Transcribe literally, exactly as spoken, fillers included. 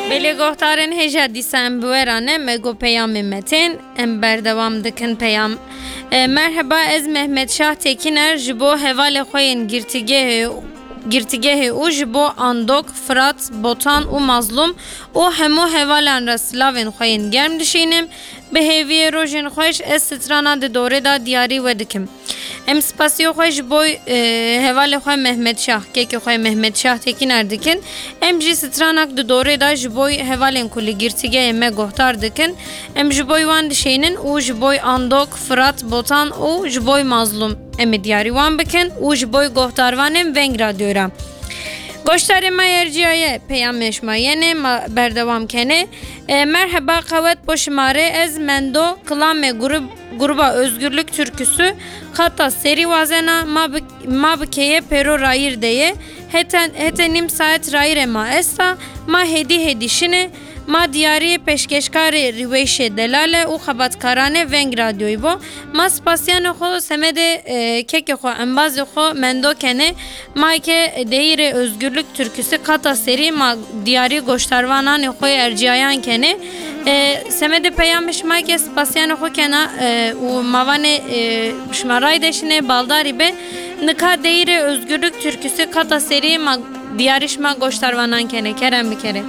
Belê guhdarên hêja dîsa em bi we re ne, me got peyamê me tên, em berdewam dikin peyam. E, merheba, ez Mehmet Şah Tekiner, ji bo hevalê xwe yên girtîgehê, girtîgehê û ji bo Andok, Firat, Botan û Mazlûm û hemû hevalan re silavên xwe yên germ dişînim. Bi hêviyê rojên xweş ez strana di dorê de diyarî we dikim. Em spasiya xwe ji bo, e, hevalê xwe Mehmet Şah, kekê xwe Mehmet Şah Tekiner dikin. Em jî stranak di dorê de ji bo hevalên ku li girtîgehê me guhdar dikin. Em ji bo wan dişênin û ji bo Andok, Firat, Botan û ji bo Mazlûm em ê diyarî wan bikin û ji bo guhdarvanên Veng Radyoyê re. Goştarê me erciyaye, peyamê şima yenê, ma berdewam kenê. E, merheba, qewet bo şima re, ez Mendo, kilamê grub-, gruba Özgürlük Türküsü, qata serî wazena, ma bi, ma bi keye pêro rayîr de ye, hete, hete nîm saet rayîrê ma esta, ma hêdî hêdî şine, ma diyariyê pêşkeşkarê Rîweyşê Delale û xebatkaranê Veng Radyoyê bo. Ma spasiyanê xwe semedê, e, kekê xwe, embazê xwe Mendo kenê. Ma ke deyîrê Özgürlük Türküsü qata serî ma diyarî goştarvananê xwe erciyayan kenê. E, semedê peyamê şima ke spasiyanê xwe kena, e, û ma vanê, e, şima ray deşinê, baldarî be. Nika deyîrê Özgürlük Türküsü qata serî ma diyarî şima goştarvanan kenê. Kerem bikerê.